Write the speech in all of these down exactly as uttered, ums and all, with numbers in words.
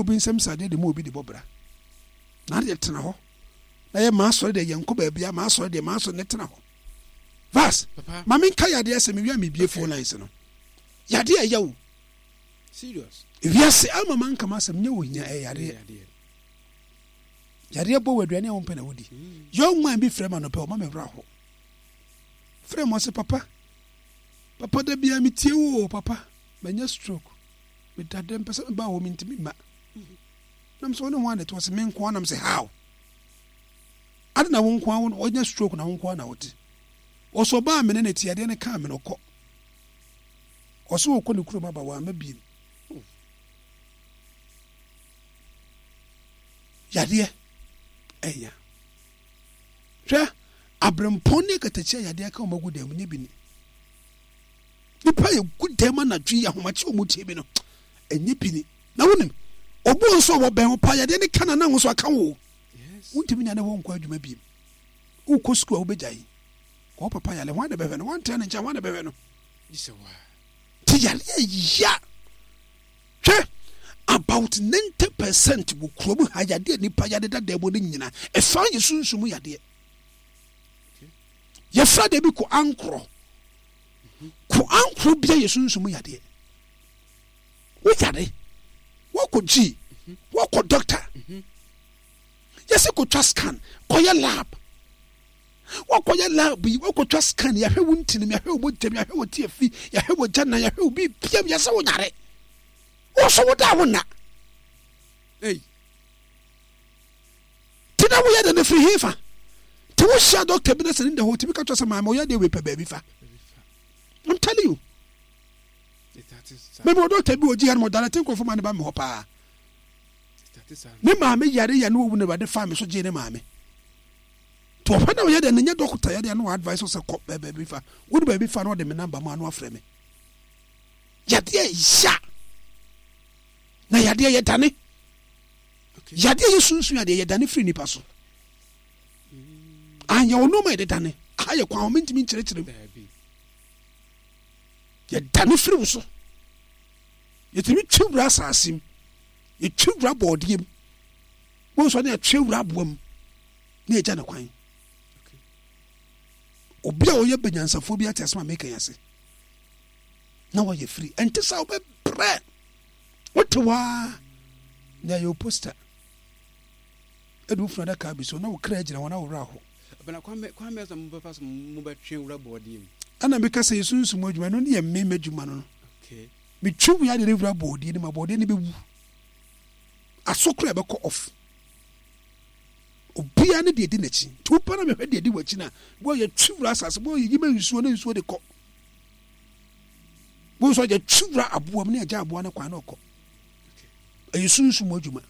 Obi nsɛm sɛ adeɛ de ma obi de bɔ bra na adeɛ tena hɔ na yɛ maa sɔre deɛ yɛnkɔ baabi a maa sɔre deɛ maa sɔre ne tena hɔ vas. Ma menka yadeɛ sɛ mewia mebie phone lines no, yadeɛ ɛyɛ wo. Serious. Wiase ama ma nka masɛm nyɛ ohia, ɛyɛ yadeɛ. Yadeɛ bɔ wɔ aduane a wompɛ na wodi. Young man bi frɛ ma nɔpɛ ɔma me werɛ ho, frɛ ma ɔsɛ, "Papa, papa, da bia metie wo o, papa, manya stroke, meda dɛm, pɛ sɛ meba hɔ, mentimi mma." Nam sɛ wo ne ho ane to? Ɔsɛ, "Me nko." Nam sɛ, "How ade na wo nko a wɔnya stroke na wo nko a na wote?" Ɔsɛ ɔbaa me ne ne te adeɛ ne kaa me no kɔ. Ɔsɛ wɔkɔ ne kurom aba, wɔama biem. Yadeɛ ɛnya hwɛ aberempɔn ne akatakyi a yadeɛ ka wɔn agu dɛm nyɛ bi ni. Nipa yɛ gu dɛm anadwo yi ahomakye wɔn tie bi no ɛnyɛ bi ni. Na wonim obi wɔ nso a wɔbɛn wo paa, yadeɛ ne ka na nan nso aka wo, wontumi nya ne hɔ nkɔ adwuma biem, wokɔ sukuu a wobɛgya yi wɔ papa yale hwan na bɛhwɛ no, wantena ne nkyɛn, hwan na bɛhwɛ no? Nti yareɛ ya hwɛ, about ninety percent wɔ kurom ha, yadeɛ nipa yade dada mu no nyina ɛfa yɛ sunsum yadeɛ. Yɛfrɛ deɛ bi ko ankorɔ, ko ankorɔ bia yɛ sunsum yadeɛ. Woyare, wɔkɔ gyi, wɔkɔ doctor, yɛsɛ kɔtwa scan, kɔyɛ lab. Wɔkɔyɛ lab yi, wɔkɔtwa scan, yɛhwɛ wo ntinim, yɛhwɛ wo mogyam, yɛhwɛ wo tiafi, yɛhwɛ wo gyana, yɛhwɛ wo biribiam, yɛsɛ wo nyare, wo so wo da wo nna nti na woyɛ de no firi he fa? Nti wohyia doctor bi na sɛ ne da hɔ, ɔtumi ka kyerɛ sɛ, "Maame, ɔyɛ deɛ wei pɛ baabi fa." I'm telling you, mɛmi wɔ doctor bi wɔ gyi ha no, ɔdalɛte nkurɔfoɔ ma ne ba mi hɔ paa. Ne maame yare yɛ no, owu na Awurade fa mi so gye ne maame. Nti ɔhwɛ na ɔyɛ deɛ ne nyɛ doctor yɛ deɛ no advice sɛ kɔ baabi fa, wode baabi fa na ɔde me number mu ano afrɛ me. Yadeɛ ya na yadeɛ yɛ dane, yadeɛ yɛ sunsun, yadeɛ yɛ dane firi nipa so. Anyɛ wɔ nneɛma yɛde dane aha yɛ kwan wɔn ntumi nkyerɛkyerɛ mu. Yɛdane firi wo so, yɛtumi twi wura asase mu, yɛtwi wura bɔɔdeɛ mu, wɔn nso ne yɛtwi wura aboa mu ne yɛgya ne kwan. Obi a ɔyɛ bɛnyansafoɔ bi ate asɛm a meka yi ase na wɔyɛ firi. Ɛnte sɛ wobɛbrɛ wote waa na ɛyɛ wo poster ɛde wo funu adaka bi so na wo kra gyina hɔ na wo werɛ aho. Bana kwan bɛ kwan bɛ sɛ mobɛfa so mobɛtwe wura bɔɔdeɛ mu? Ɛna meka sɛ yɛsunsum adwuma no ne yɛ me m'adwuma no no Okay. Metwe wo adeɛ no wura bɔɔdeɛ no mu a, bɔɔdeɛ no bɛwu aso kora, ɛbɛkɔ off. Obiara ne deɛ di n'akyi, nti wopa na mehwɛ deɛ di w'akyi no a, bɔ yɛtwe wura asase, bɔ yɛyi ma nsuo na nsuo de kɔ bo nso, yɛtwe wura aboa mu ne agya aboa no kwan na ɔkɔ. Ɛyɛ sunsum adwuma.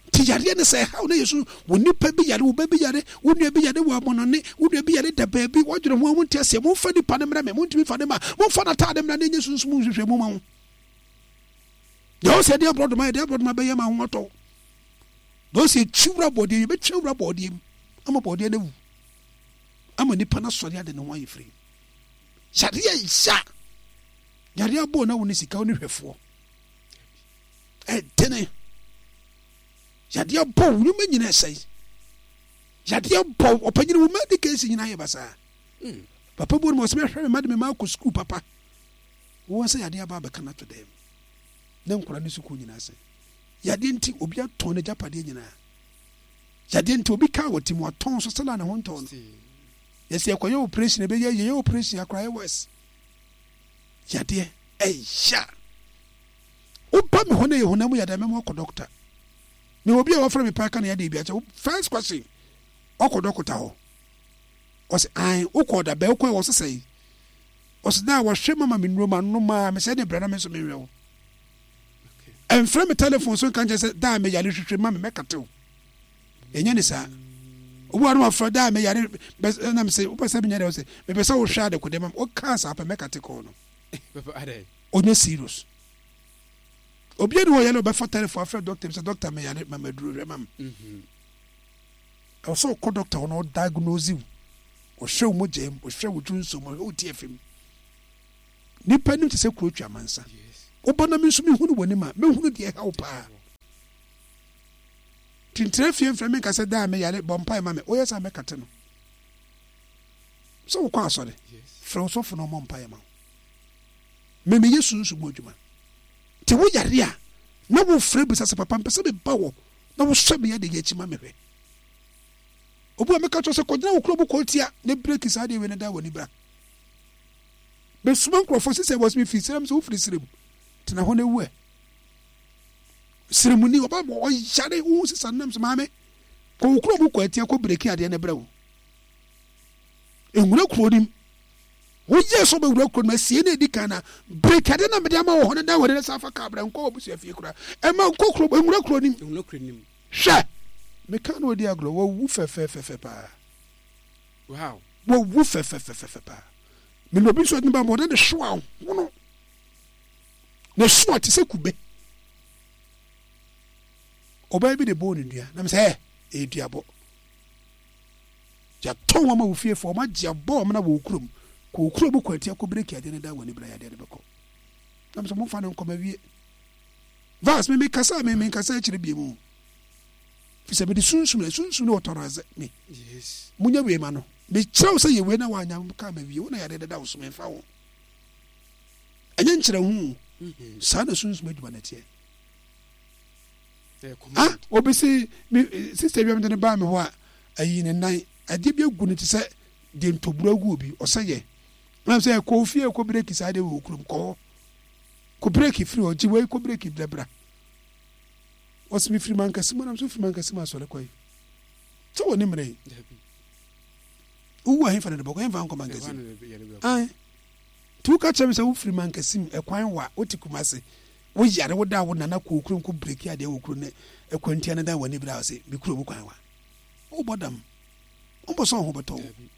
Nti yareɛ no sɛ ɛhaw na yɛ su, wo nipa bi yare, wo ba bi yare, wo nua bi yare wɔ amɔnɔne, wo nua bi yare da baabi, wɔdwene ho a wonte aseɛ, momfa nipa no mmrɛ me. Montumi fa ne ma, momfa n'ataade mmra na ɛnyɛ sunsum nhwehwɛ mu ma wo. Deɛ ɔsɛ yɛde aborɔdoma, yɛde aborɔdoma bɛyɛ ma ho atɔ. Deɛ ɔsɛ yɛtwi wura bɔɔdeɛ, yɛbɛtwi wura bɔɔdeɛ mu ama bɔɔdeɛ no awu ama nipa no asɔre ade ne ho ayɛ firi. Yareɛ ya, yareɛ abɔɔ na wo ne sika wo ne hwɛfoɔ ɛdene. Yadeɛ bɔ wo nnwuma nyina ɛsɛe, yadeɛ bɔ wo ɔpanyini, wo medication nyinaa yɛ basaa. Papa bu no ma ɔsɛ mɛhwɛ me ma de me ma akɔ sukuu. Papa, wɔn sɛ yadeɛ aba abɛka no ato dɛm na nkwadaa no sukuu nyinaa sɛ yadeɛ nti obi atɔn n'agyapadeɛ nyinaa. Yadeɛ nti obi kaa wɔ ti mu atɔn so sɛla ne ho ntɔn no, yɛsɛ yɛkɔyɛ operation, ɛbɛyɛ yɛyɛ operation akora yɛ worse. Yadeɛ ɛya, woba me hɔ no yɛ honam yadeɛ, mɛma wakɔ doctor. Me obi a wɔfrɛ me paa ka ne yadeɛ bi akyɛ, first question, ɔkɔ doctor hɔ? Ɔsɛ an wokɔ da bɛɛ wokɔ wɔ sesɛ yi. Ɔsɛ da a wɔhwɛ mama me nnuro ma nom a, mesɛ ne brɛ na me nso menhwɛ wo. Ɛmfrɛ me telephone so nka nkyɛn sɛ da a meyare hwehwɛ ma me mɛkatew. Ɛnyɛ ne saa. Obi wa no wafrɛ da a meyare na mesɛ wopɛ sɛ menya dɛ, ɔsɛ mepɛ sɛ wohwɛ ade kode ma wokaa saa pɛ, mɛkate kɔɔ no. Ɔnyɛ serious. Obi ani hɔ yɛne ɔbɛfa telephone afrɛ doctor sɛ, "Doctor, meyare, mama duro hwɛ ma me." Ɛwɔ sɛ ɔkɔ doctor hɔ na ɔdiagnose wo, ɔhwɛ wo mogya mu, ɔhwɛ wo dwonso mu, ɔhwɛ wo tiafi mu. Nipa nim te sɛ kuro twa amansa. Woba na me nso mehunu w'anim a, mɛhunu deɛ ɛha wo paa. Tentena fie mfrɛ me nka sɛ daa meyare, bɔ mpae ma me. Woyɛ saa a mɛkate no. Sɛ wokɔ asɔre, frɛ wo sɔfo na ɔmmɔ mpae ma wo. Me meyɛ sunsum mu adwuma. Nti wo yare a, na wofrɛ bisa sɛ papa mpɛ sɛ meba hɔ na wosɔ me yadeɛ yi akyi ma mehwɛ. Obi a mɛka kyerɛ sɛ kɔgyina wo kurom kɔ tia na breki saa adeɛ wei na da w'ani bra. Mesoma nkurɔfoɔ sisi a wɔsɛ mefiri serem sɛ wofiri serem tena hɔ na ewu ɛ. Seremuni ɔba ma ɔyare wohu sisa nam sɛ maame kɔ wo kurom kɔ atia kɔ breki adeɛ na brɛ wo. Nwura kuro nim. Woyɛ sɛ wobɛwura kuro nim asie na edi kan na breki adeɛ na mede ama wɔ hɔ no da w'ani na sa fa kaa brɛ nkɔ wɔ busua fie koraa. Ɛma nkɔ kuro nwura kuro nim. Hwɛ! Meka na ɔdi agorɔ, wawu fɛfɛɛfɛfɛ paa. Wow. Wawu fɛfɛɛfɛfɛ paa. Mene obi nso ne ba ma ɔde ne so ahono. Ne so a te sɛ kube. Ɔbaa bi de bɔɔ ne dua. Na me sɛ, ɛ, ɛyɛ duabɔ. Yɛatɔn wɔn ma wo fiefoɔ, wɔn agye abɔ wɔn na wɔ kurom. Kɔ wo kurom kɔ atia kɔ breki adeɛ no da wɔ ani bra yɛ adeɛ no bɛkɔ. Na me sɛ, momfa no nkɔ ma wie. Vas, me mekasa, me menkasa akyerɛ bie mu. Fi sɛ mede sunsum na sunsum ne wɔtɔrɔdze me. Yes. Munya wei ma no. Mekyerɛ wo sɛ yɛ wei na woanya ka ma wie. Wo na yɛde deda wo so memfa wo. Ɛnyɛ nkyerɛ ho. Saa na sunsum adwuma no teɛ. Ɛyɛ Ah, command. obi se me sister bi a mede ne baa me hɔ a ayi ne nan adeɛ bi agu no te sɛ deɛ ntoburo agu obi ɔsɛ yɛ. Na sɛ kɔ fie kɔ breki saa deɛ wɔ kurom kɔ hɔ. Kɔ breki firi hɔ gye wei kɔ breki brɛ bra. Ɔsɛ me firi mankasi mu nam so firi mankasi mu asɔre kɔ yi. Sɛ wɔ ne mmerɛ yi. Dabi. Wowu ahemfa no de bɔkɔ ɛmfa nkɔ mankasi Ɛhɔ mu. na yɛde bɛkɔ. Ae. Nti woka kyerɛ me sɛ wofiri mankasi mu ɛkwan wa wote Kumase woyare woda wo nana kɔ kurom kɔ breki adeɛ wɔ kuro ne ɛkwantia no dan w'ani berɛ a sɛ me kurom kwan wa. Wobɔ dam. Wompɛ sɛ wo ho bɛtɔ wo. Dabi.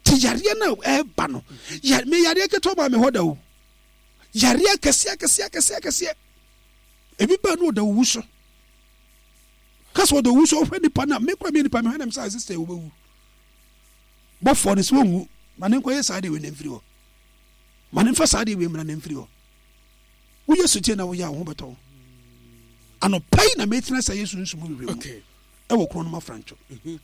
Nti yareɛ no a ɛreba no, ya- me yareɛ ketewa maa me hɔ da o. Yareɛ akɛseɛ akɛseɛ akɛseɛ akɛseɛ. Ebi baa no ɔda owu so. Ka sɛ ɔda owu so ɔhwɛ nipa no a me kora me nipa mehwɛ nam sɛ sister wobɛwu. Bɔfoɔ no sɛ wɔnwu ma ne nkɔyɛ saa deɛ wei na mfiri hɔ. Ma ne mfa saa deɛ wei mmra na mfiri hɔ. Woyɛ sotie na woyɛ a wo ho bɛtɔ wo. Anɔpa yi na metena sɛ yɛ sunsum hwehwɛ mu Okay. ɛwɔ kuro no ma frantwo.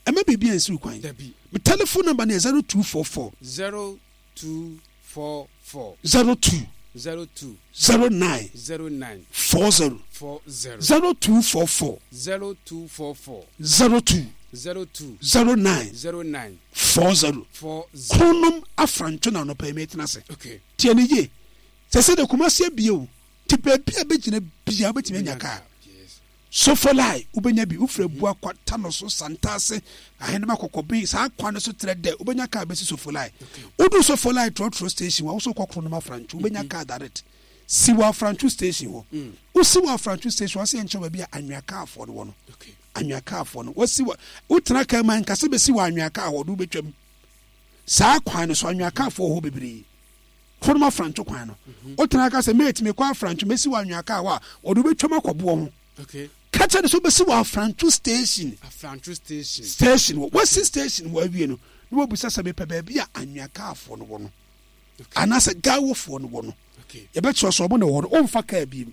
Ɛma biribi ansiw kwan. Dabi. Me telephone number no yɛ zero two four four Zero two four four zero two zero two zero nine zero nine four zero four zero zero two four four zero two four four zero two zero two zero nine zero nine four zero. four zero. Kronom afrantwo na anɔpa yi metena ase. Okay. Tie ne yie. Sɛ sɛ de Kumasi abie o. Ti baabi a bɛgyina bia wobɛtumi anya kaa. Yes. Sofolai wobɛnya bi wofiri Abuakwa Tano so Santase Ahenema Kɔkɔben saa kwan no so trɛ dɛ wobɛnya kaa bɛsi Sofolai. Wodu Sofolai trɔtrɔ station wa wosɔ kɔ Kronom afrantwo wobɛnya kaa direct. Si wɔ afrantwo station hɔ. Wosi wɔ afrantwo station hɔ sɛ yɛnkyerɛ baabi a anwea kaafoɔ no wɔ no. Okay. Anwea kaafoɔ no wasi wɔ wotena kaa mu a nkasa bɛsi wɔ anwea kaa hɔ de wobɛtwam. Saa kwan no so anwea kaafoɔ wɔ hɔ bebree. Kronom afrantwo kwan no. Wotena ka sɛ mate mekɔ afrantwo mɛsi wɔ anwea kaa hɔ a wɔde wobɛtwam akɔ boɔ ho. Okay. Ka kyerɛ no sɛ wobɛsi wɔ afrantwo station. Afrantwo station. Station wɔ wasi station wɔ awie no na wabusa sɛ mepɛ baabi a anwea kaafoɔ no wɔ no. Anaasɛ gawofoɔ no wɔ no. Okay. Yɛbɛkyerɛ sɛ ɔmo na wɔ hɔ no ɔmfa kaa biem.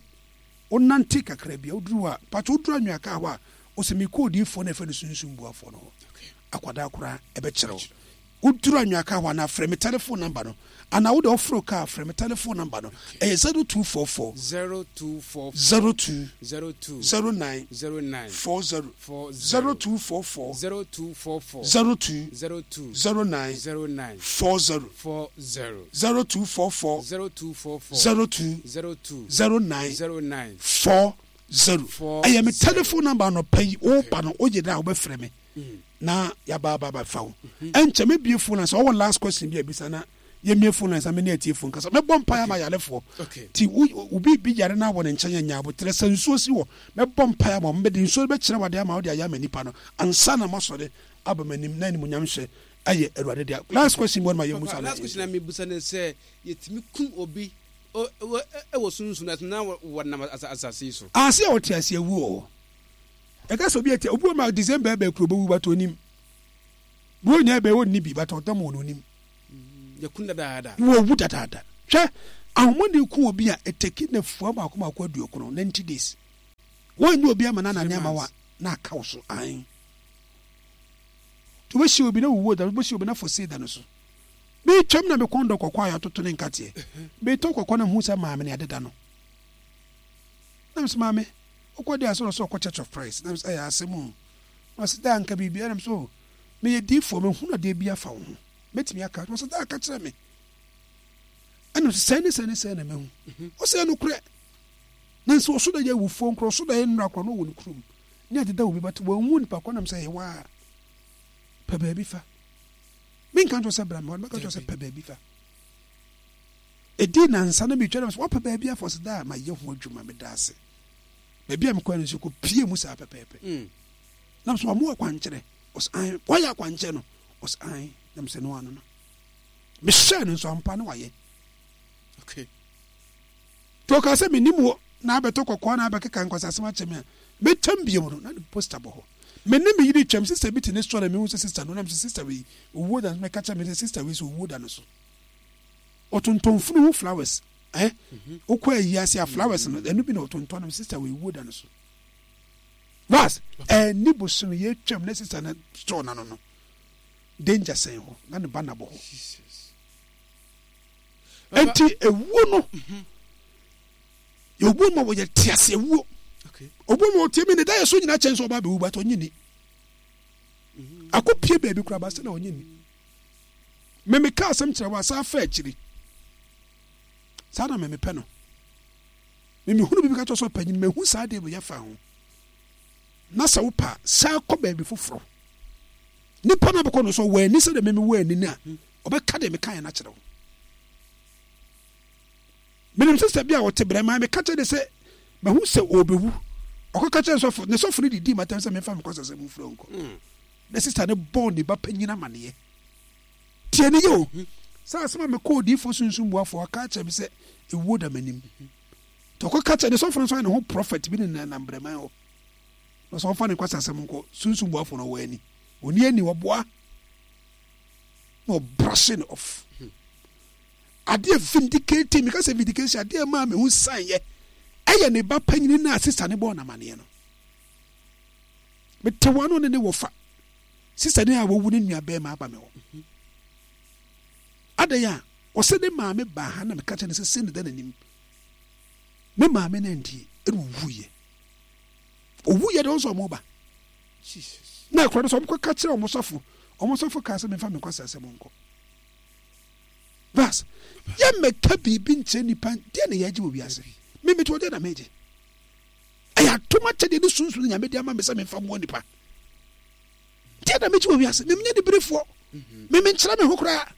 Wonante kakra bi a woduru hɔ a patro woduru anwea kaa hɔ a wosɛ mekɔ odiyifoɔ no a ɛfɛ no sunsum buafoɔ no hɔ. Okay. Akwadaa koraa ɛbɛkyerɛ wo. Woduru anwea kaa hɔ anaa frɛ me telephone number no anaa wode ɔforo kaa frɛ me telephone number no ɛyɛ zero two four four Zero two four zero two zero two zero nine zero nine four zero four zero two four four zero two four four zero two zero two zero nine zero nine four zero four zero zero two four four zero two four four zero two zero two zero nine zero nine four zero. Four Ɛyɛ me zero. telephone number anɔpa yi woba no wogye da a wobɛfrɛ me na yɛaba aba abɛfa wo. Ɛnkyɛ mebie phone line sɛ ɔwɔ last question bi a bisa na yɛmmie phone line sɛ me ne atiefoɔ nkasa. Mɛbɔ mpaeɛ ama yarefoɔ. Okay. Nti wo obi bi yare no wɔ ne nkyɛn anya abotrɛ sɛ nsuo si hɔ mɛbɔ mpaeɛ ama wo mɛde nsuo no bɛkyerɛ wade ama wode ayɛ ama nipa no ansa na masɔre aba m'anim na animuonyam hyɛ ayɛ Awurade dea. Last question bi wɔ no ma yɛmmu Papa, sa last question na mebusa ne sɛ yɛtumi kum obi o- wɔ ɛwɔ sunsun ase na wɔ- wɔnam asa- asase yi so. Ase a wɔte ase awu wɔ hɔ. Ɛka sɛ obi ate obi wɔ ma December bɛɛ kuro bɛwu bata onim. Bro nya bɛɛ ɔnni bi bata ɔdam wɔ n'onim. Yɛkum dadaada. Wɔwu dadaada. Hwɛ ahomɔden ku obi a ɛtɛki na fua baako baako aduokron ninety days. Wɔnyɛ obi ama no anane ama wa Na aka wo so an. Nti wobɛhyia obi na wuo da no, wobɛhyia obi na fosee da no so. Meretwam na me kɔn dɔ kɔkɔɔ a yɛatoto ne nkateɛ. Meretɔ kɔkɔɔ na mehu sɛ maame ne adeda no. Na mesɛ maame, wokɔ de asɔre sɛ ɔkɔ Church of Christ. Na mesɛ ɛyɛ asɛm o. Na ɔsɛ daa nka biribi. Ɛna mesɛ o, meyɛ diifoɔ, mehunu adeɛ bi afa wo ho. Mɛtumi aka. Ɔsɛ daa ka kyerɛ me. Ɛna mesɛ sɛn ne sɛn ne sɛn na mahu. Ɔsɛ ɛyɛ nokorɛ. Nanso ɔso da yɛ awufoɔ nkorɔ, ɔso da yɛ nnora korɔ na ɔwɔ ne kurom. Ne adeda wɔ bi but wanwu nipa korɔ nam sɛ ɛyɛ waa. Pɛ baabi fa. Menka nkyerɛ sɛ bra me hɔ, mɛka kyerɛ sɛ pɛ baabi fa. Ɛdii nansa na metwa nam sɛ wapɛ baabi afa ɔsɛ daa mayɛ ho adwuma meda ase. Baabi a mekɔɛ no nso kɔpie mu saa pɛpɛɛpɛ. Mm. Nam sɛ wamo akwankyerɛ. Ɔsɛ an wayɛ akwankyerɛ no. Ɔsɛ an nam sɛ no ano no. Mehyɛɛ no nso ampa ne wayɛ. Okay. Nti ɔkaa sɛ menim wo na abɛtɔ kɔkɔɔ na abɛkeka nkwasasɛm akyerɛ me a, mɛtwam bio no, na ne poster bɔ hɔ. Me ne me yere twam, sister bi te ne store na mehu sɛ sister no, na mesɛ sister wei, owuo da no so, mɛka kyerɛ me sɛ sister wei sɛ owuo da no so. Ɔtontɔn funu ho flowers, eh? Wokɔ ayi ase a flowers no, ɛno bi na ɔtontɔn, na sister wei owuo da no so. Vas, ɛni bosome yɛtwam na sister no store no ano no, danger sɛn hɔ, na ne ba na bɔ hɔ. Enti ewuo no yɛwuo ma wɔyɛ tease ewuo. Obu ma ɔtie mi ne da yɛ so nyina kyɛn sɛ ɔba abɛwu but ɔnye ni. Akɔpie baabi koraa ba sɛ na ɔnye ni. Me meka asɛm kyerɛ wɔ asa afa akyiri. Saa na me mepɛ no. Me mehunu biribi ka kyerɛ sɛ ɔpanyin mehu saa deɛ wei afa ho. Na sɛ wopɛ a saa kɔ baabi foforɔ. Nipa no abɛkɔ no sɛ ɔwɔ ani sɛ deɛ me mewɔ ani no a ɔbɛka deɛ mekaeɛ no akyerɛ wo. Menim sista bi a ɔte brɛ maa meka kyerɛ ne sɛ mahu sɛ ɔrebɛwu. Ɔkɔka kyerɛ ne sɔfo, ne sɔfo no didii m'atɛm sɛ memfa me nkɔsɛsɛ mu mfiri hɔ nkɔ. Mm. Na sista no bɔɔ ne ba panyin amaneɛ. Tie ne yɛ o. Sɛ asɛm a mekɔɔ odiyifoɔ sunsum boafoɔ aka akyerɛ me sɛ ewuo da m'anim. Nti ɔkɔka kyerɛ ne sɔfo no nso ayɛ ne ho prɔfɛt bi ne nenam brɛman hɔ. Na sɛ ɔmfa ne nkɔsɛsɛm nkɔ sunsum boafoɔ no ɔwɔ ani. Ɔni ani ɔboa. Na ɔbrɔhye no off. Adeɛ vindicate meka sɛ vindication adeɛ maa me ho saneɛ ɛyɛ ne ba panyini no a sista ne bɔɔ no amaneɛ no. Mete wɔn ano ne ne wɔfa sista ne a wɔwu ne nua bɛrima aba me hɔ. Adɛn a ɔsɛ ne maame baa ha na meka kyerɛ no sɛ sɛ ne da n'anim. Ne maame no antie ɛna ɔwuiɛ. Ɔwuiɛ deɛ ɔnso ɔmo ba. Na akora no sɛ ɔmo kɔka kyerɛ ɔmo sɔfo, ɔmo sɔfo kaa sɛ memfa me nkwasasɛm nkɔ. Verse, Yɛmmɛka biribi nkyerɛ nnipa, deɛ na yɛgye wɔ wiase? Me mete hɔ, deɛ na megye? Ɛyɛ atom akyɛdeɛ ne sunsum na Nyame de ama me sɛ memfa mmoa nnipa. Deɛ na megye wɔ wiase? Memenyɛ diberefoɔ, me menkyerɛ me ho koraa.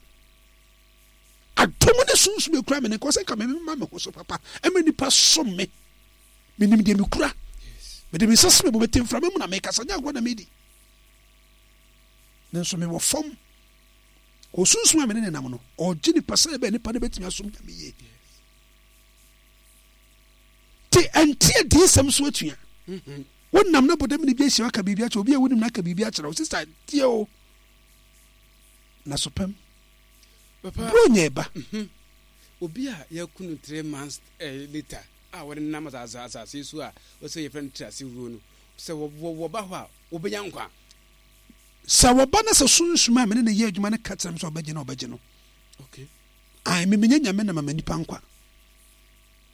Atom ne sunsum ekura me ne nkɔ sɛ nka memema me ho so papa, ɛma nnipa som me. Menim deɛ mekura. Mede me nsa si me bo, mete mframa mu na mekasa, nyɛ agorɔ na medi. Nanso mewɔ fam. Osunsum a me ne no nam no, ɔregye nipa sɛ ɛbɛyɛ nipa no bɛtumi asom Nyame yie. Te ɛnte adiyisɛm so atua. Mhm. Wonam na bɔdam ne bi ahyia aka biribi akyerɛ obi a wonim no aka biribi akyerɛ wo. Sista tie o. Na so pam. Bro nyɛ ba. Mhm. Obi a yɛku no three months eh, later a wɔde nam asase so a wɔsɛ yɛfrɛ no trase wuo no sɛ wɔba hɔ a wɔbɛnya nkwa. Sɛ wɔba na sɛ sunsum a me ne no yɛ adwuma no ka kyerɛ me sɛ ɔbɛgye no a, ɔbɛgye no. Okay. Ae, me menyɛ nyame na mama nipa nkwa.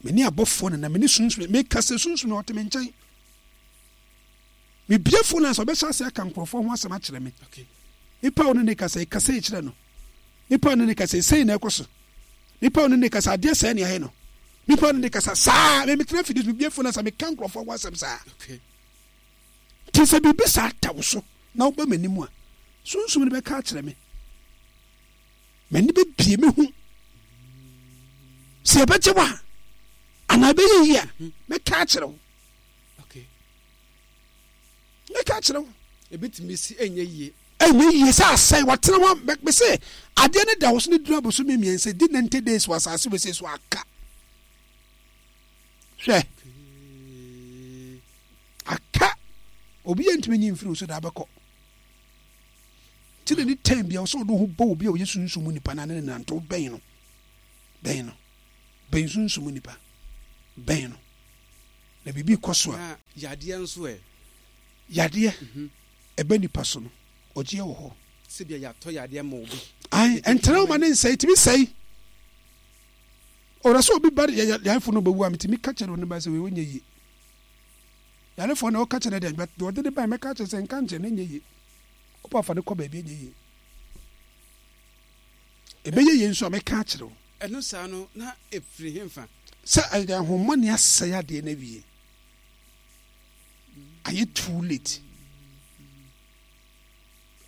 Me ne abɔfoɔ na na me ne sunsum, meka sɛ sunsum na ɔte me nkyɛn. Mebie fo no a sɛ ɔbɛhyɛ ase aka nkurɔfoɔ ho asɛm akyerɛ me. Okay. Nipa a ɔne ne kasa yi, kasa yi kyerɛ no. Nipa a ɔne ne kasa yi, sei na ɛkɔ so. Nipa a ɔne ne kasa, adeɛ sɛɛ ne ayɛ no. Nipa a ɔne ne kasa, saa, me metena fidie so, mebie fo no a sɛ meka nkurɔfoɔ ho asɛm saa. Okay. Nti sɛ biribi saa ta wo so na woba m'anim a, Sunsum no bɛka akyerɛ me. M'ani bɛbie mehu sɛ yɛbɛgye wo a anaa ɛbɛyɛ yie a, mɛka akyerɛ wo. Mɛka akyerɛ wo. Ebitumi si ɛnyɛ yie. Ɛnyɛ yie sɛ asɛe watena hɔ mɛ sɛ adeɛ no da wo so no duru abosome mmiɛnsa di ninety days wɔ asase wɔ so aka. Hwɛ. Aka obi yɛ ntumi nyi mfiri wo so da abɛkɔ. Nti na ne tɛn bia ɔsɛ ɔde ho bɔ obi a ɔyɛ sunsum mu nipa na ne nantew bɛn no. Bɛn no. Bɛn sunsum mu nipa. Bɛn no. Na biribi kɔ so a. Na yadeɛ nso ɛ? Yadeɛ ɛbɛ nipa so no, ɔgyeɛ wɔ hɔ. Sɛbia yɛatɔ yadeɛ ma obi. Ae, ɛntena wo ma ne nsɛe, ɛtumi sɛe. Ɔwura sɛ obi ba yarefo no bɛwu a, metumi ka kyerɛ no ba sɛ wei ɔnyɛ yie. Yarefoɔ na ɔka kyerɛ deɛ, but deɛ ɔde ne ba mɛka kyerɛ sɛ nka nkyerɛ no ɛnyɛ yie. Ɔba fa no kɔ baabi ɛnyɛ yie. Ɛbɛyɛ yie nso a mɛka akyerɛ wo. Ɛno saa no na ɛfiri hemfa? Sɛ ɛyɛ ahommɔne asɛe adeɛ no awie. Ayɛ too late.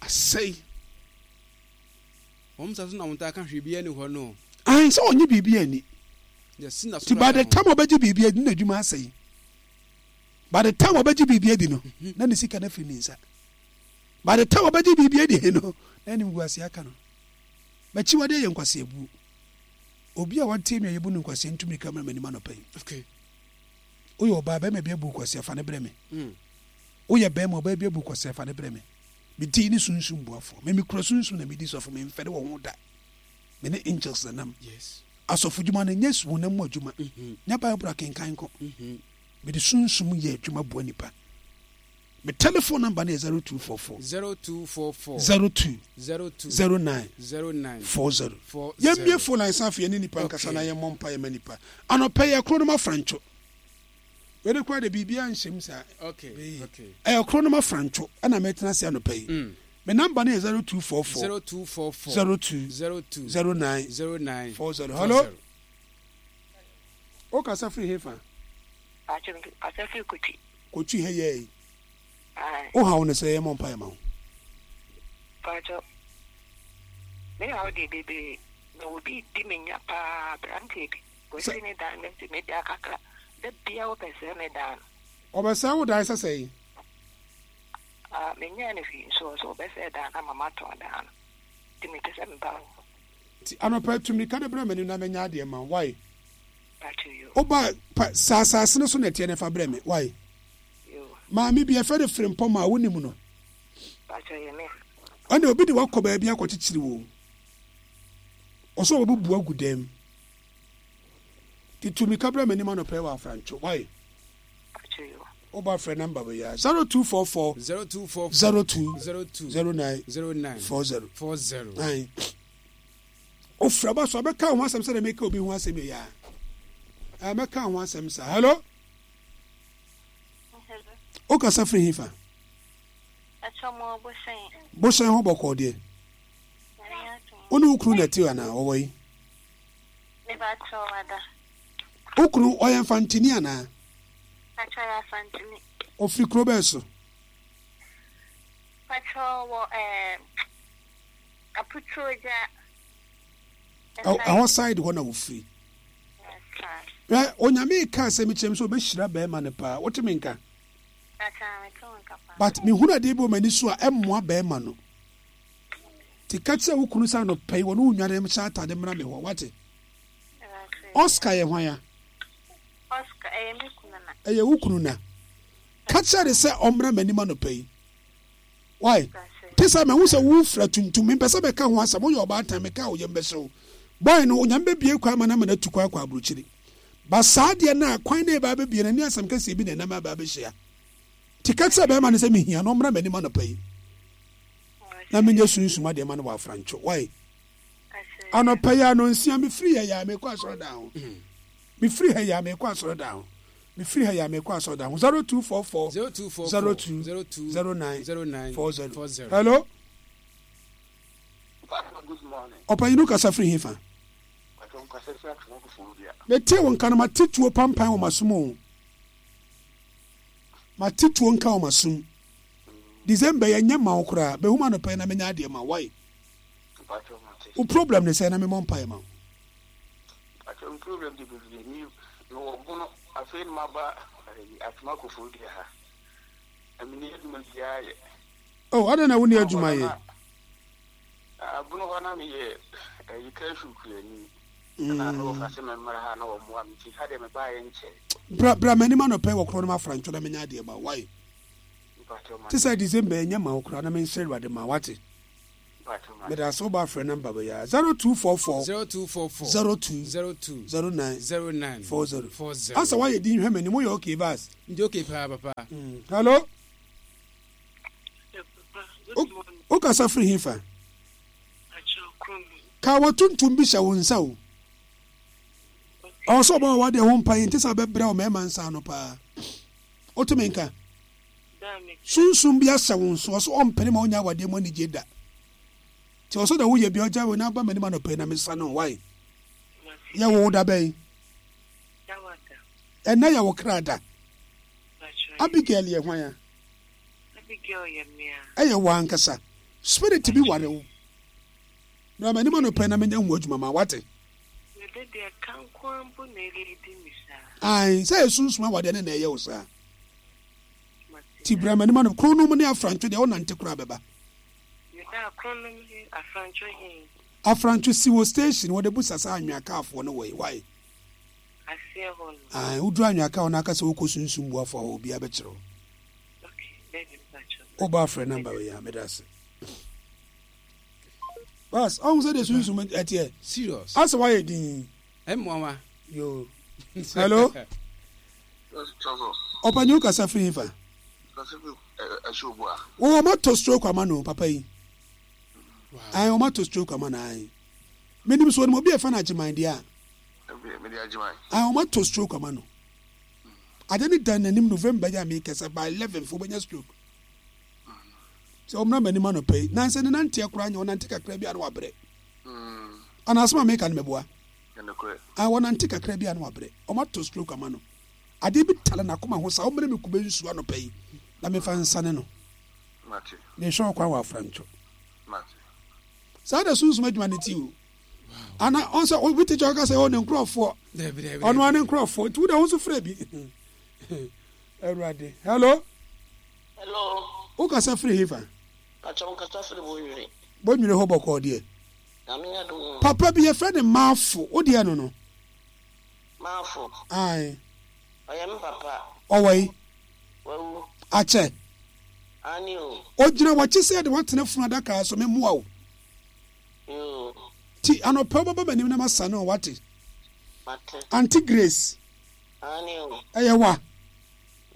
Asɛe. Wɔn sa so na wɔn taa ka hwee biara ni hɔ no. Ayi sɛ ɔnye biribi ani. Ti by the time ɔbɛgye biribi adi na adwuma asɛe. By the time ɔbɛgye biribi adi no, mhm. na ne sika no afiri ne nsa. By the time ɔbɛgye biribi adi no, na anim gu ase aka no. M'akyiwadeɛ yɛ nkwaseabuo. Obi a watie me a yɛbu no nkwasea ntu mmirika mmra m'anim anɔpa yi. Okay. Woyɛ ɔbaa, bɛrima bi abu kwasea, fa ne brɛ me. Mm. Woyɛ bɛrima, ɔbaa bi abu kwasea, fa ne brɛ me. Me din ne sunsum boafoɔ. Me mekura sunsum na medi sɔfo, memfɛre wɔ ho da. Me ne angels na nam. Yes. Asɔfo dwuma no nyɛ honam mu adwuma. Mm -hmm. Nyɛ Bible akenkan nko. Mm -hmm. Mede sunsum yɛ adwuma boa nipa. Me telephone number no yɛ zero two four four. Zero two four four. Zero two. Zero two. Zero nine. Zero nine. Four zero. Four zero. Yɛmmie phone lines afei yɛne nipa nkasa na yɛmmɔ mpa yɛma nipa. Anɔpɛ yɛ koro no ma frantwo. Wei de koraa de biribiara nhyɛ mu saa. Okay. Okay. Ɛyɛ koro no ma frantwo ɛna mɛtena ase anɔpɛ yi. Mm. Me number no yɛ zero two four four. Zero two four four. Zero two. Zero two. Zero nine. Zero nine. Four zero. Hello. O kasa firi hefa? Kasa firi Kotwi. Kotwi ha yɛ yi. Wo haw ne sɛ yɛmmɔ mpaeɛ ma wo. Paatɔ, me haw deɛ bebree na obi di me nya paa aberanteɛ bi wasi ne dan no nti me da kakra da bia wɔbɛsɛe me dan no. Ɔbɛsɛe wo dan sɛ sɛe? Ah, menyɛɛ no hwee nso ɔsɛ ɔbɛsɛe dan no ama matɔn dan no nti mepɛ sɛ meba hɔ. Nti anɔpa tu mmirika no bra m'anim na menyɛ adeɛ ma wo why? Paatɔ yo. Woba pa sɛ asase no so na ɛteɛ no fa brɛ me why? Maame bi yɛfrɛ no Frimpong a wonim no. Ɛna obi de wakɔ baabi akɔkyekyere wo. Ɔsɛ ɔbɛbubu agu dɛm. Tutu mirika bra m'anim anɔpɛ wɔ afrantwo. Why? Woba frɛ namba wei a zero two four four zero two four zero two zero two zero nine zero nine four zero four zero. Nine. Ofrɛ ba so abɛka ho asɛm sɛ meka obi ho asɛm yi a. Mɛka ho asɛm saa. Hello. Wokasa firi hefa? Bohyɛn hɔ bɔkɔɔ deɛ. Wo ne wo kunu na ɛte anaa ɔwɔ yi? Wo kunu ɔyɛ mfantini anaa? Ɔfiri kuro bɛɛ so? Ɛhɔ side hɔ na wofiri. Hwɛ, Onyame ka asɛm kyerɛ me sɛ ɔbɛhyira bɛrima no paa. Wote me nka? But mehunu adeɛ bi wɔ m'ani so a ɛmmoa bɛrima no. Nti ka kyerɛ wo kunu sɛ anɔpa yi wɔne wo nwane hyɛ atade mmra me hɔ. Wate? Oscar yɛ hwan a? Oscar, ɛyɛ me kunu na. Ɛyɛ wo kunu na. Ka kyerɛ ne sɛ ɔmmra m'anim anɔpa yi. Why? Te sɛ mahu sɛ wofira tuntum, mempɛ sɛ mɛka ho asɛm, woyɛ ɔbaatan, meka wo yam bɛhyɛ wo. Boy no, Onyame bɛbie kwan ma no ama no atu kwan akɔ aburokyiri. Ba saa deɛ no a, kwan no ɛbaa bɛbie no, ɛne asɛm kɛseɛ bi na ɛnam aba abɛhyia. Nti ka kyerɛ bɛrima no sɛ mehia no, ɔmmra m'anim anɔpa yi. Na menyɛ sunsum adeɛ ma no wɔ afrantwo. Why? Anɔpa yi anɔnsia, mefiri ha yi a mekɔ asɔredan ho. Mefiri ha yi a mekɔ asɔredan ho. Mefiri ha yi a mekɔ asɔredan ho. Zero two four four zero two four zero four two zero two zero nine zero nine four zero. four zero. Hello. Good morning. Ɔpanyin no kasa firi hefa? Metie wo nka no mate tuo pampan wɔ m'asom o. Mate tuo nka wɔ m'asom. December yɛ nyɛ ma wo koraa. Bɛhu ma anɔpa yi na menya adeɛ ma wo. Why? Wo problem ne sɛ na memmɔ mpaeɛ ma wo. Problem de bebree mi mewɔ bono afei na maba atoma kofoɔ dua ha. Ɛmene adwuma biara yɛ. Oh, adɛn na wonni adwuma yɛ? Abono hɔ na meyɛ ɛyi cashew kuani. Ɛna na wɔfa sɛ memmra ha na wɔmmoa me nti ha deɛ mebaeɛ nkyɛ. Bra bra m'anim anɔpɛ wɔ korɔ no mafra ntwo na menya adeɛ ma wo. Why? Te sɛ December ɛnyɛ ma wo koraa na mensrɛ Awurade ma wate. Meda ase woba afrɛ number wei a zero two four four zero two four four zero two zero two zero nine zero nine four zero. four zero. Asa woayɛ din hwɛ m'anim woyɛ okay vas. Nti okay paa papa. Mm. Hello. Good morning. Wokasa firi he fa? Pacho krom. Ka wɔ tuntum bi hyɛ wo nsa o. Ɔwɔ sɛ ɔbɔ wɔ adeɛ ho mpa yi nti sɛ wobɛbrɛ wo mmarima nsa ano paa. Wotumi nka. Da me. Sunsum bi ahyɛ wo nso ɔso ɔmpene ma wonya awadeɛ mu anigye da. Nti ɔsɛ dɛ woyɛ bi ɔgya wo na aba m'anim anɔpa yi na mesane wo wae. Mate. Yɛ wo da bɛn? Dawada. Ɛnɛ yɛ wo kra da. Pacho. Abigail yɛ hwan a? Abigail yɛ mmea. Ɛyɛ wo ankasa. Spirit bi ware wo. Bra m'anim anɔpa yi na menya ho adwuma ma wate. Mede deɛ ka nko ara mpo na ɛledi me saa. Ae, sɛ yɛ sunsum awadeɛ ne na ɛyɛ wo saa. Mate. Ti bra m'anim anɔpa kuro no mu ne afrantwo deɛ wonante koraa bɛba. Meda kronom he afrantwo he Afrantwo si wɔ station wɔde busa sɛ anwea kaafoɔ no wɔ yi wae. aseɛ hɔ no. Ae, woduru anwea kaa hɔ no aka sɛ wokɔ sunsum boafoɔ hɔ obiara bɛkyerɛ wo. Okay, baby Pacho. Wobɔ afrɛ number wei a meda ase. Bas, ɔhu sɛ deɛ sunsum ɛteɛ. Serious. Asɛ woayɛ din. Ɛmmoawa. Yo. Hello? Sɔfo, Ɔpanyin wo kasa firi fa? kasa fi ɛhyɛ obu a. Wɔ ɔma to stroke ama no papa yi. Wow. Ae, ɔma to stroke ama no ae. Menim so onim obi a ɛfa no agyeman deɛ a. Mede agyeman. Ae, ɔma to stroke ama no. Ade ne dan n'anim November yi a mekasa by eleven fo wobɛnya stroke. Sɛ ɔmmra m'anim anɔpa yi, nansɛ ne nanteɛ koraa nyɛ ɔnante kakra bi a na wabrɛ. Anaa asɛm a meka no mɛboa. Ɛnokorɛ. Ae, wɔnante kakra bi a na wabrɛ. Ɔma to stroke ama no. Adeɛ bi tale n'akoma ho saa ɔmmrɛ me kube nsuo anɔpa yi na mefa nsane no. Mate. Mehwɛ wo kwan wɔ afrantwo. Mate. Saa da sunsum adwuma ne ti o. Ana ɔnsɛ obi te kyɛ ɔka sɛ ɔ ne nkurɔfoɔ. Dabi dabi. Ɔno ara ne nkurɔfoɔ. Nti wo da wo nso frɛ bi. Awurade. Hello. Hello, Wokasa firi hefa? Pacho nkasa firi Bonwire. Bɔnwire hɔ bɔkɔɔ deɛ. Nyame adom o. Papa bi yɛfrɛ ne Maafo. Wo deɛ no no. Maafo, Ae. ɔyɛ me papa. Ɔwɔ yi. Wawu. Akyɛ. Ane o. Ogyina wɔkye sɛ de watena funu adaka so memmoa wo. Yoo, Ti anɔpa wobɛba m'anim na masane wo wate. mate. Auntie Grace. Ane o. Ɛyɛ wa.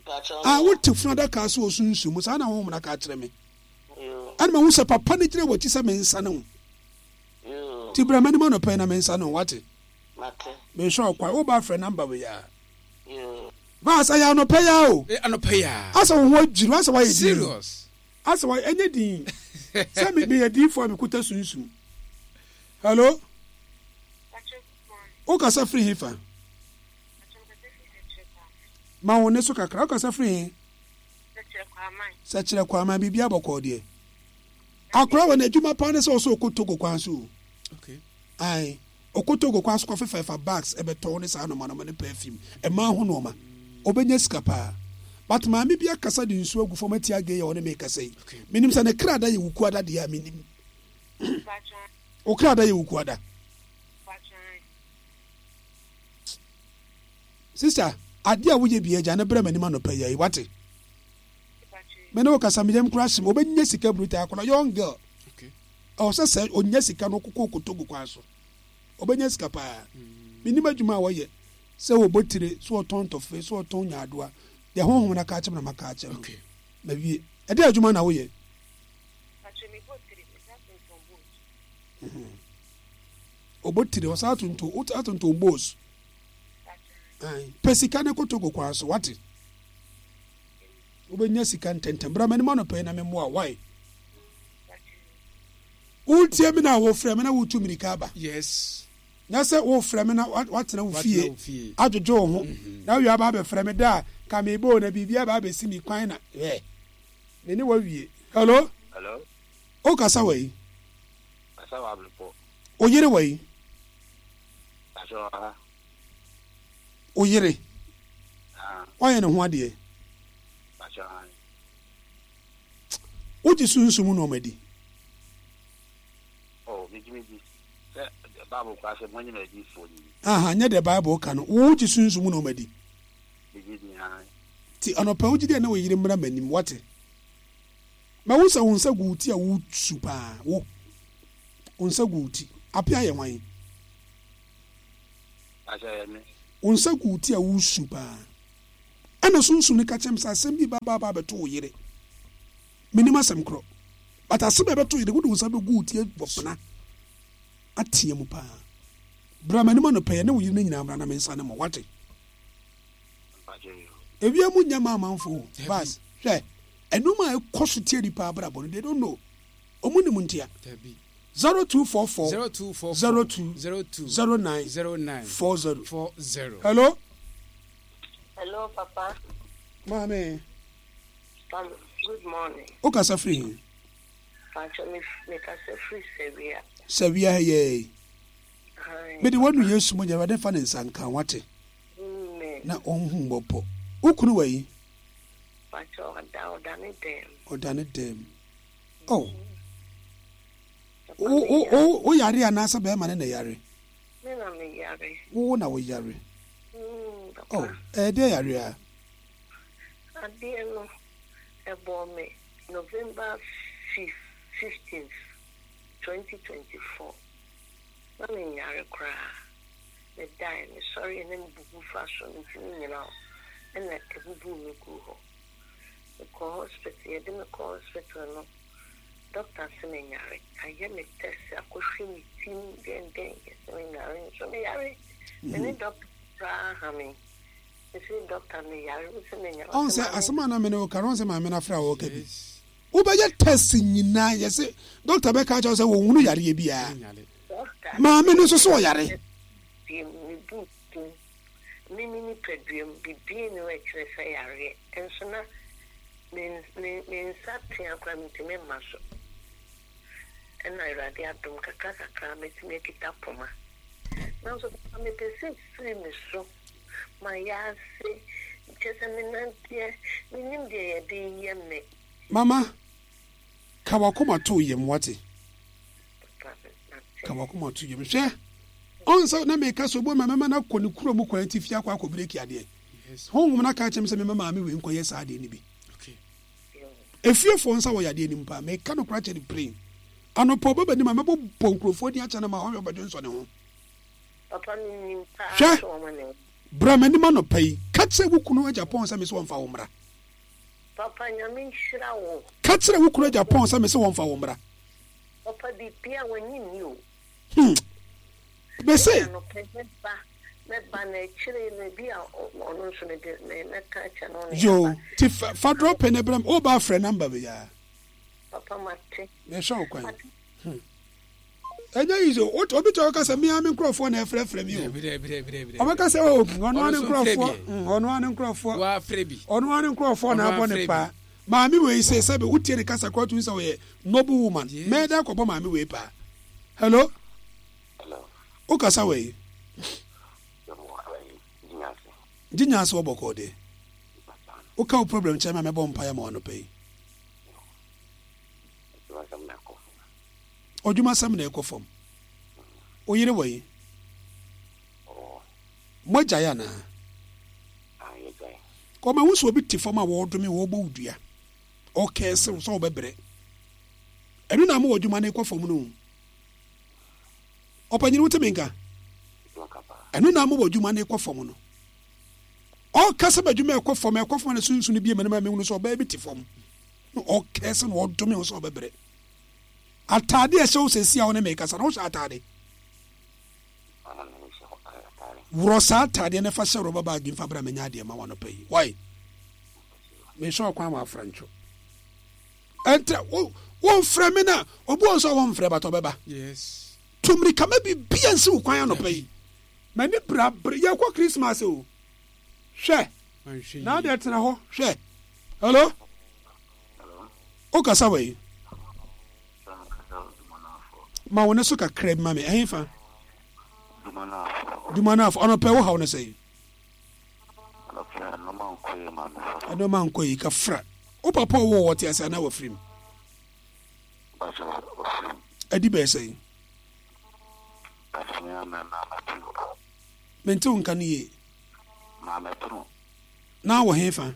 Pacho A wote funu adaka so wɔ sunsum mu saa na honhom no aka akyerɛ me. Yoo, Ɛna mahu sɛ papa no gyina wɔkyi sɛ mensane wo. yoo, Ti bra m'anim anɔpa yi na mensane wo wate. mate. Mehwɛ wo kwan woba afrɛ number wei a. Yoo, Baas ɛyɛ anɔpa yi a o. Eh, anɔpa yi a. Asɛ wo ho adwiri asɛ woayɛ din. Serious. Asɛ woayɛ ɛnyɛ din. Sɛ me meyɛ diifoɔ a mekuta sunsum. Hello. Pacho good morning. Wokasa firi he fa? Pacho nkasa fi Sɛkyerɛ Kwaman. Ma wo ne so kakra. Wokasa firi he? Sɛkyerɛ Kwaman. Sɛ kyerɛ kwaman biribi abɔkɔɔ deɛ. Akora wɔ n'adwuma paa ne sɛ ɔsɛ ɔkɔ Togo kwan so o. Okay. Ae. Ɔkɔ Togo kwan so kɔfefɛɛfa bags ɛbɛtɔn ne saa nɔɔma nɔɔma ne perfume. Ɛmaa ho nɔɔma. Ɔbɛnya sika paa. But maame bi akasa de nsuo agu fam atia gay a ɔne me kasa yi. Okay. Menim sɛ ne kra da yɛ wukuada deɛ a menim. Pacho Wo kra da yɛ wukuada. Pacho. Sister, adeɛ a woyɛ bi agya ne brɛ m'anim anɔpa yi ayi wate. Pacho. Me ne wo kasa meyam kora hyem obɛnya sika bruta akɔla young girl. Okay. Ɛwɔ sɛ sɛ ɔnya sika no ɔkokɔ kɔ Togo kwan so. Ɔbɛnya sika paa. Menim adwuma a wɔyɛ sɛ wɔbɔ tire, sɛ ɔtɔn tɔfe, sɛ ɔtɔn nyaadoa. Deɛ honhom no aka akyerɛ me na maka akyerɛ no. Okay. Mawie. Ɛdeɛ adwuma na woyɛ? Pacho me bɔ tiri, me sa tontɔn boat. Ɔbɔ tire, ɔsan atontɔn, ɔsan atontɔn bowls. Pacho. Ae. Pɛ sika ne kɔ Togo kwan so, wate? Wobɛnya sika ntɛntɛm. Bra m'anim anɔpa yi na memmoa wo, wae? Pacho. Wotie me na wofrɛ me na wotu mmirika aba. Yes. Na sɛ wofrɛ me na wa- watena wo Watena fie wo fie. adwodwo wo ho na wowie aba abɛfrɛ me da a ka mebɔ na biribi aba abɛsi me kwan na ɛ me ne wawie. Hello? Hello. Wokasa wɔ yi? Kasa wɔ Ablepɔ. Wo yere wɔ yi? Kasa wɔ ha. Wo yere Ah, woayɛ ne ho adeɛ. kasa ha. Wogye sunsum nneɛma di. Oh, megye me di. Sɛ Bible kora sɛ monyɛ m'adiyifoɔ ni. Aha, nyɛ deɛ Bible ka no. Wogye sunsum nneɛma di. Megye di ha. Ti anɔpa wogye deɛ na wo yere mmra m'anim wate. Ma wo sɛ wo nsa gu wo ti a wosu paa wo. Wo nsa gu wo ti. Apea yɛ hwan? Kasa yɛ me. Wo nsa gu wo ti a wosu paa. Ɛna sunsum no ka kyerɛ me sɛ asɛm bi ba ba ba abɛto wo yere. Menim asɛm korɔ. But asɛm a ɛbɛto yɛ de wode wo nsa bɛgu wo tie bɔpena ateɛ mu paa. Bra m'anim anɔpa yi, ɛne wo yere no nyinaa mmra na mensa ne mo. Wate? Ewia mu nyɛ ma amanfo o. Bas, hwɛ, ɛnum a ɛkɔ so tia nipa abrabɔ no, they don't know. Ɔmo nim ntia. Zero two four four zero two zero nine four zero. Hello? Hello, Papa. Maame. Papa, good morning. O kasa firi he? Pacho, me me kasa firi Sawia. Sawia ha yɛɛ. Mede wanu Yesu mogya, Awurade mfa ne nsa nka wate. Na ɔnhu mmɔbɔ. Wo kunu wɔ yi? Pacho, ɔda ɔda ne dɛm. Ɔda ne dɛm. Oh. Wo wo wo wo yare anaasɛ bɛrima ne na yare? Me na me yare. Wo na wo yare. Mm, papa. Oh, ɛyɛ deɛ yare a? Adeɛ no, ɛbɔɔ me November fifteenth, twenty twenty four. Na menyare koraa. Medae, mesɔree na mebubu fa so, mentumi nnyina hɔ. Ɛna ebubuu me guu hɔ. Mekɔɔ hospital, yɛde me kɔɔ hospital no, doctor se menyare. Ayɛ me test, akɔhwɛ me tim, dɛn dɛn, yɛse menyare nso meyare. Me ne doctor koraa ha me. Mese doctor meyare, mese menyare. Ɔn sɛ asɛm a na me ne wo ka no, ɔn sɛ maame no afrɛ a ɔɔka bi. Wobɛyɛ test nyinaa, yɛse doctor bɛka akyerɛ wo sɛ wɔnhunu yareɛ biara. Maame no nso so ɔyare. Me bu me me nipadua mu biribiara nni hɔ a ɛkyerɛ sɛ yareɛ nso na me me me nsa tea koraa mentumi mma so. Ɛna Awurade adom kakra kakra mɛtumi akita poma. Nanso papa mepɛ sɛ firi me so ma yɛase kyerɛ sɛ menanteɛ menim deɛ yɛde yɛ me. Mama, ka w'akoma to yam wate. Ka w'akoma to yam. Hwɛ, ɔn sɛ na meka sɛ obi ma mɛma no akɔ ne kuro mu kwan atifi akɔ akɔ breki adeɛ. Honhom no aka akyerɛ me sɛ mema maame wei nkɔyɛ saa adeɛ no bi. Efiefoɔ nsa wɔ yadeɛ no mu paa. Meka no koraa kyerɛ no piren. Anɔpa ɔba b'anim a mɛbobɔ nkurɔfoɔ din akyerɛ no ma hɔ ɔbɛdwe nsɔ ne ho. Hwɛ, bra m'anim anɔpa yi. Ka kyerɛ wo kunu agya pɔn sɛ me sɛ wɔmfa wo mmra. Papa Nyame nhyira wo. Ka kyerɛ wo kunu agya pɔn sɛ me sɛ wɔmfa wo mmra. Papa bibia w'ani nni o. Hmm. Mese. Anɔpa mɛba mɛba na akyire no ebi a ɔno nso mede mɛka akyɛ no ne Yo, ti fa fa drop ne brɛ me. O ba frɛ number bi ya. Papa mate. Mehwɛ wo kwan. Hmm. Ɛnyɛ easy o. Obi tɔ ɔka sɛ mea me nkurɔfoɔ na ɛfrɛfrɛ mi o. Ɔbɛka sɛ o ɔno ara ne nkurɔfoɔ ɔno ara ne nkurɔfoɔ ɔno ara ne nkurɔfoɔ na abɔ ne paa. Maame wei sɛ sɛbe wotie ne kasa koraa tumi sɛ ɔyɛ noble woman. Mɛda akɔbɔ maame wei paa. Hello? Hello. Wokasa wei? Gyinya ase wɔ bɔkɔɔ de. Woka wo problem kyerɛ me a mɛbɔ mpaeɛ ma wo anɔpa yi. Ɔdwumasɛm na ɛkɔ fam. Wo yere wɔ yi? Moagyae anaa? Kɔma wo sɛ obi te fam a wɔredome wɔrebɔ wo dua. Ɔkɛɛse wo sɛ wobɛbrɛ. Ɛno na ama w'adwuma no rekɔ fam no. Ɔpanyin wote me nka? Ɛno na ama w'adwuma no rekɔ fam no. Ɔka sɛ m'adwuma ɛkɔ fam ɛkɔ fam na sunsun no bi ma no ma mehunu sɛ ɔbaa bi te fam. Na ɔkɛɛse na ɔdome wo sɛ ɔbɛbrɛ. Ataade a ɛhyɛ wo sɛsi a wo ne me kasa no wohyɛ ataade. Worɔ saa ataadeɛ no fa hyɛ rɔba bag mfa bra menya adeɛ ma wo anɔpa yi. Why? Mehwɛ ɔkwan wɔ afrantwo. Ɛntrɛ wo wɔmfrɛ me na obi wɔ nso a wɔmfrɛ but ɔbɛba. Yes. To mmirika ma biribi ansi wo kwan anɔpa yi. M'ani bra bere yɛkɔ Christmas o. Hwɛ. Na adeɛ tena hɔ hwɛ. Hello? Wokasa wɔ yi? Ma wo ne so kakra bi ma me. Ɛhe fa? Dumanafo. Anɔpɛ wo haw no sɛ yi? Ɛnɔma nkɔ yi kafra. Wo papa ɔwɔ wɔ te ase anaa wafirim? Adi bɛyɛ sɛ yi? Mente wo nka no yie. Na wɔ he fa?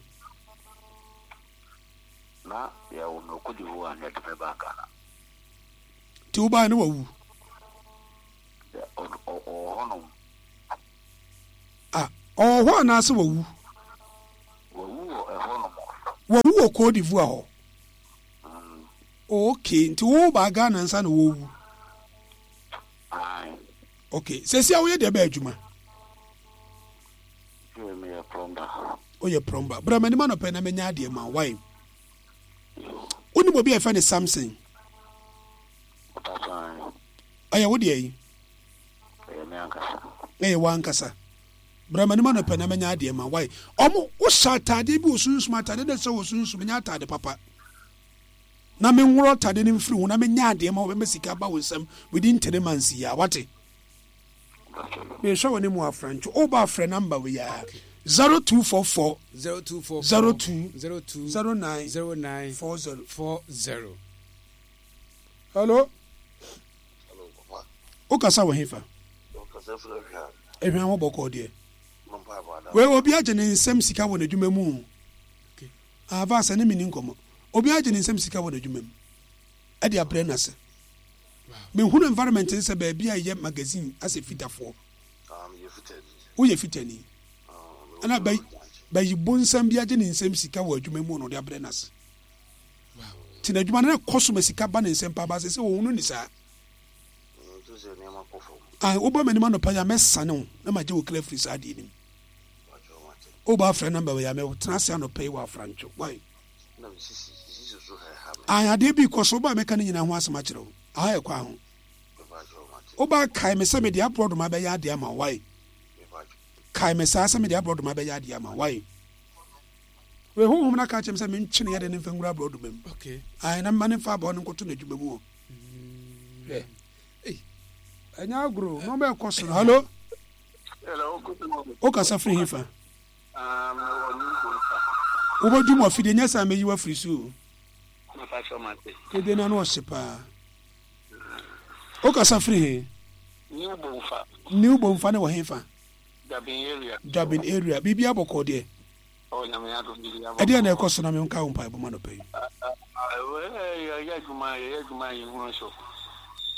Na yɛwo me Cote d'Ivoire na yɛde me baa Ghana. Nti wo baa ne wawu? Ɔwɔ hɔnom. Ah, ɔwɔ hɔ anaasɛ wawu? Wawu wɔ ɛhɔnom. Wawu wɔ Cote d'Ivoire hɔ? Mm. Oh, okay, nti wo ba Ghana nsa na wɔwu. Ae. Okay, sɛsi a woyɛ deɛ bɛyɛ adwuma? Sɛ meyɛ plumber. Woyɛ plumber. Bra m'anim anɔpɛ na menya adeɛ ma wo. Why? Wonim obi a yɛfrɛ no Samson? Ɔpakyɛ ae. Ɛyɛ wo deɛ yi? Ɛyɛ me ankasa. Ɛyɛ wo ankasa. Bra m'anim anɔpɛ na menya adeɛ ma wo. Why? Ɔmo, wohyɛ ataadeɛ bi wɔ sunsum, ataadeɛ no ɛsɛ wɔ sunsum, nyɛ ataade papa. Na menworɔ ataadeɛ no mfiri ho na menya adeɛ ma wo, bɛma sika ba wo nsam within three months yi a, wate? Mehwɛ wɔ ne mu afrantwo. Woba afrɛ number wei a, zero two four four zero two four zero two zero two zero nine zero nine four zero. four zero. Hello? Hello, papa. Wokasa wɔ hefa? Ɔkasa firi Ahwea. Ehwɛ ho bɔkɔɔ deɛ. Mpa aba Wei obi agye ne nsɛm sika wɔ n'adwuma mu. Okay. Ava sɛ ne meni nkɔmmɔ. Obi agye ne nsɛm sika wɔ n'adwuma mu. Ɛde abrɛ n'ase. Mehunu environment ne sɛ baabi a ɛyɛ magazine asɛ fitafoɔ. Ah, meyɛ fitani. Woyɛ fitani. Ah, Ɛna bɛyi bɛyi bonsam bi agye ne nsɛm sika wɔ adwuma mu na ɔde abrɛ n'ase. Nti n'adwuma no na ɛkɔ so ma sika ba ne nsɛm paa ba sɛ sɛ ohunu ne saa. Nso sɛ nneɛma kɔ fam. Ah, woba m'anim anɔpa yi a mɛsane wo na magye wo kra firi saa adeɛ no mu. Mpakyɛ wate. Woba afrɛ number wei a mɛtena ase anɔpa yi wɔ afrantwo. Why? Na me sisi sisi so ha ha me. Ah, adeɛ bi kɔ so woba a mɛka ne nyinaa ho asɛm akyerɛ wo. Aha yɛ kwan ho. Mpakyɛ wate. Woba kae me sɛ mede aborɔdoma bɛyɛ adeɛ ama wo. Why? Mpakyɛ. Kae me saa sɛ mede aborɔdoma bɛyɛ adeɛ ama wo. Why? Wei honhom no aka kyerɛ me sɛ mentwe ne yɛde ne mfa nwura aborɔdoma mu. Okay. Ah, na mma ne mfa abɔ no nkɔto n'adwuma mu hɔ. Hwɛ. Ei. Ɛnyɛ agorɔ o, nneɛma ɛkɔ so no. Hello? Hello, good morning. Wokasa firi hefa? Um, mewɔ New Bonfa. Wobɛdwum wɔ afidie nyɛ saa mɛyi wafiri so o. Mepakyɛ mate. Dede no ano ɔhye paa. Wokasa firi he? New Bonfa, New Bomfa ne wɔ hefa? Dabin area. Dwabin area. Biribi abɔkɔɔ deɛ. Oh, nyame adom biribi abɔ. Ɛdeɛ na ɛkɔ so na menka wo mpaebɔ ma nɔpɛ yi. Yɛyɛ adwuma, yɛyɛ adwuma yi hunu so.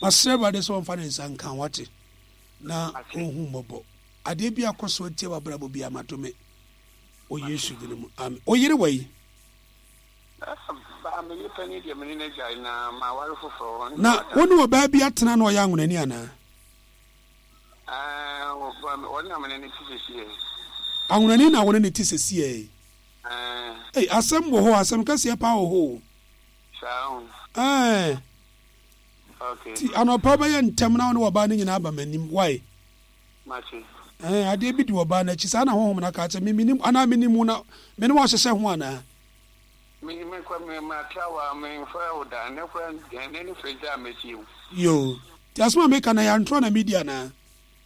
Masrɛ Awurade sɛ ɔmfa ne nsa nka wo wate na ɔnhu mmɔbɔ. Adeɛ bi akɔ so atia w'abrabɔ bi amadome wɔ Yesu din mu. Amen. Wo yere wɔ yi? Ba me nipa ni deɛ me ne n'agyae na ma ware foforɔ. Na wo ne ɔbaa bi atena na ɔyɛ anwonani anaa? Wɔne amene ne ti sɛsie. Anwonani na wo ne ne te sɛsiɛ yi. Ei, asɛm wɔ hɔ, asɛm kɛseɛ paa wɔ hɔ o. Saa ho. Ɛɛ, Okay. ti anɔpa bɛyɛ ntɛm na wo ne ɔbaa no nyinaa aba m'anim. Why? Mate. Ɛɛ, adeɛ bi di ɔbaa n'akyi saa na honhom no aka kyerɛ me menim anaa menim wo na me ne wo ahyehyɛ ho anaa? Me me kɔ me ma tra wa me nfa wo da ne kora ne ne fɛ gya metie wo. Yo. Nti asɛm a meka na yɛantorɔ na medi anaa?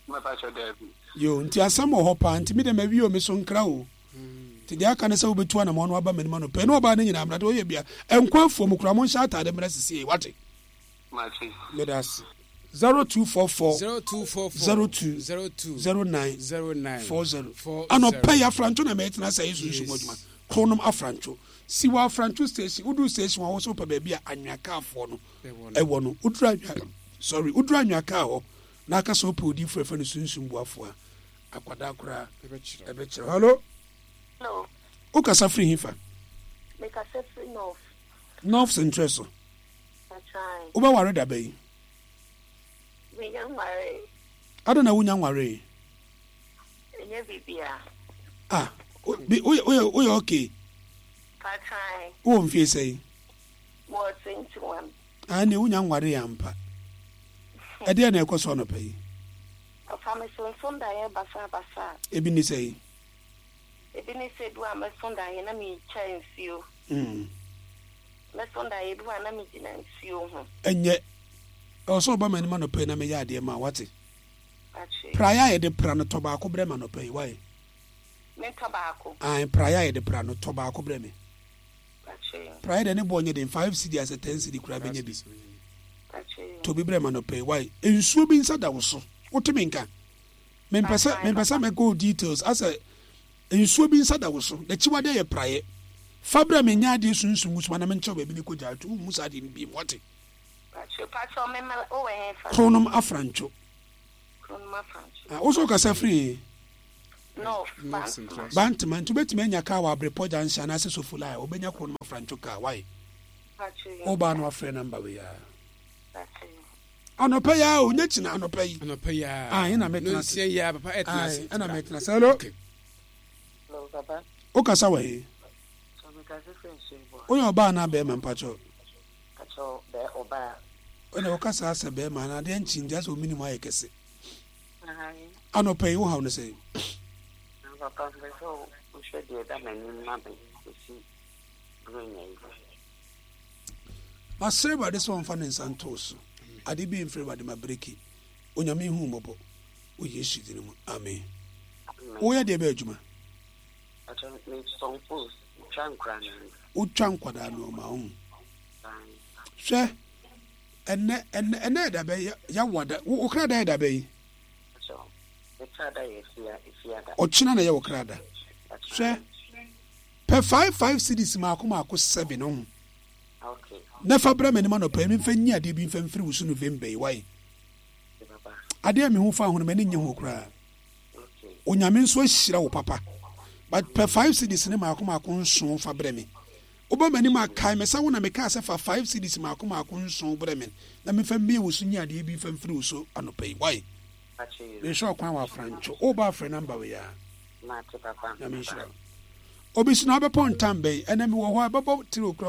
Mepakyɛ daabi. Yo, nti asɛm wɔ hɔ paa nti me deɛ mawie o me so nkra o. Nti deɛ aka ne sɛ wobɛtu anamɔ no aba m'anim anɔpɛ ne ɔbaa no nyinaa mmra de ɔyɛ bia ɛnkɔ afuo mu koraa monhyɛ atade mmra sisie wate. Mate. Meda ase. zero two four four Zero two four four zero two zero two zero nine zero nine four zero. four Anɔpɛ yi zero. afrantwo na mɛtena sɛ yesu nsu mu Yes. adwuma. Kronom afrantwo. Si wɔ afrantwo station, woduru station a wo so wopɛ baabi a anwea kaafoɔ no Ɛwɔ no. ɛwɔ no. Woduru anwea sorry, woduru anwea kaa hɔ na aka sɛ wopɛ odiyifoɔ a yɛfrɛ no sunsum boafoɔ a akwadaa koraa Ɛbɛkyerɛ. ɛbɛkyerɛ. Hello? Hello, Wokasa firi hefa? mekasa firi North. North Central so. Achai. Wobɛware da bɛyi? Menya nware. Adɛn na wonya nwaree? Ɛnyɛ biribiara. Ah, wo- bi- woyɛ woyɛ woyɛ okay. Pachai. Wowɔ mfie sɛn? Wɔ twenty-one. Ah, ne wonya nwaree ampa. Ɛdeɛ na ɛkɔ so anɔpa yi? Papa me sonson daeɛ basabasa. Ebi ne sɛn? Ebi ne sɛ bi a mɛso daeɛ na metwa nsuo. Mm. Mɛso daeɛ bi a na megyina nsuo ho. Ɛnyɛ. Ɛwɔ sɛ ɔba m'anim anɔpa yi na meyɛ adeɛ ma wo, wate. Achai. Praeɛ a yɛde pra no tɔ baako brɛ me anɔpa yi, wae? Mentɔ baako. Ah, praeɛ a yɛde pra no tɔ baako brɛ me. Achai. Praeɛ deɛ ne bɔɔ nyɛ den, five cedi asɛ ten cedi koraa bɛnya bi. Achai. Tɔ bi brɛ me anɔpa yi, wae? Nsuo bi nsa da wo so. Wote me nka? Mempɛ sɛ mempɛ sɛ mɛgo details asɛ nsuo bi nsa da wo so. N'akyiwadeɛ yɛ praeɛ. Fa brɛ me nyɛ adeɛ sunsum gu so ma na menkyɛw baabi ne kɔgya ato. Wommu saa adeɛ no bi mu, wate? Achai. Pachai me ma wowɔ hefa? Kronom afrantwo. Kronom afrantwo. Ah, wo so wokasa firi he? North. North Bantama. Central. Bantama nti wobɛtumi anya kaa wɔ abrepɔ junction anaasɛ sofola a wobɛnya kronom afrantwo kaa wae. Mpakyɛ. Wobaa no afrɛ number wei a. Mpakyɛ. Anɔpɛ yi a, onyɛ kyina, anɔpɛ yi. Anɔpɛ yi a. Ah, ɛna mɛtena ase. Nonsia yi a, papa ɛtena ase. Ɛna mɛtena ase. Hello. Okay. Hello, Papa. Wokasa wɔ he? So mekasa firi nsuo yi bɔ. Woyɛ ɔbaa anaa bɛrima, mpakyɛ? Kakyɛ bɛ ɔbaa. Ɛna wokasa sɛ bɛrima anaa adeɛ nkyi nti asɛ omini mu ayɛ kɛse. Ahan. Anɔpɛ yi, wo haw no sɛ? Na papa, mpɛ sɛ wohwɛ deɛ ɛda m'anim ma me kɔsi buronya yi. Masrɛ Awurade sɛ ɔmfa ne nsa ntoo so. Ade bi mfiri Awurade ma breki. Onyame hu mmɔbɔ. Wɔ Yesu din mu. Amen. Woyɛ deɛ bɛyɛ adwuma? Kakyɛ mesɔn post, twa nkora no. Wotwa nkwadaa nneɛma ho. Hwɛ, ɛnɛ ɛnɛ ɛnɛ yɛ dabɛ yɛawada. Wo wo kra da yɛ dabɛ yi? Kakyɛ metwa da yɛ efia efiada. Ɔkyena na yɛ wo kra da. Hwɛ, pɛ five five cedis maako maako seven ho. Okay. Na fa brɛ m'anim anɔpa yi, memfa nyi adeɛ bi mfa mfiri wo so November yi, wae. Papa. Adeɛ a mehu fa ho no, m'ani nye ho koraa. Okay. Onyame nso ahyira wo papa. But pɛ five cedis ne maako maako nson fa brɛ me. Wobɛ m'anim akae me sɛ wo na mekaa sɛ fa five cedis maako maako nson brɛ me na memfa mmie wo so nyi adeɛ bi mfa mfiri wo so anɔpa yi, wae. Kakyɛ yi. Mehwɛ ɔkwan wɔ Afrantwo. Woba afrɛ number wei a. Mate, papa. Nyame nhyira wo. Obi so na wobɛpɔ ntam bɛyi. Ɛnɛ mewɔ hɔ a, ɛbɛbɔ three o'clock.